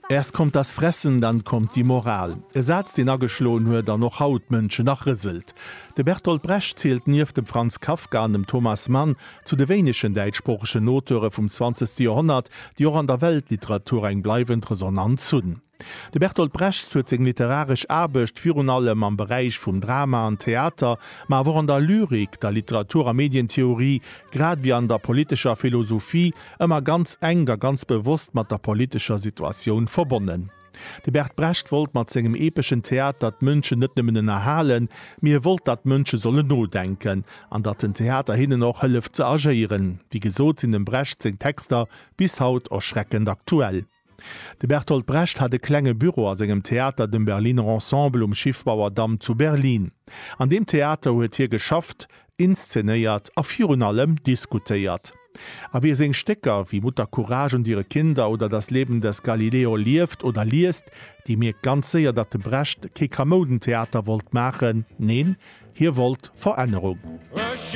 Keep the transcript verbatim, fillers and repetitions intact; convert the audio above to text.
Erst kommt das Fressen, dann kommt die Moral. E Saz, deen ageschloen huet an och haut d'Mënschen nach rëselt. De Bertolt Brecht zielt nieft dem Franz Kafka an dem Thomas Mann zu de wéinegen däitschsproochegen Auteure vum zwanzegste Joerhonnert, déi och an der Weltliteratur eng bleiwend Resonanz hunn. De Bertolt Brecht huet seng literaresch Aarbecht virun allem am Beräich vum Drama an Theater, ma awer och an der Lyrik, der Literatur a Medientheorie, grad ewéi an der politescher Philosophie ëmmer ganz enk a ganz bewosst mat der politescher Situatioun verbonnen. De Bert Brecht wollt mat sengem epeschen Theater d'Mënschen net nëmmen ënnerhalen, mee e wollt, datt d'Mënsche sollen nodenken an datt den Theater hinnen och hëlleft ze agéieren. Wéi gesot sinn dem Brecht seng Texter bis haut erschreckend aktuell. De Bertolt Brecht hat e klenge Büro a sengem Theater, dem Berliner Ensemble um Schiffbauerdamm zu Berlin. An deem Theater huet hie geschafft, inszenéiert a virun allem diskutéiert. A wie seng Stécker wéi Mutter Courage und ihre Kinder oder Das Leben des Galileo lieft oder liest, dee mierkt ganz séier, datt de Brecht kee Kamoudentheater wollt maachen, neen, hie wollt Verännerung.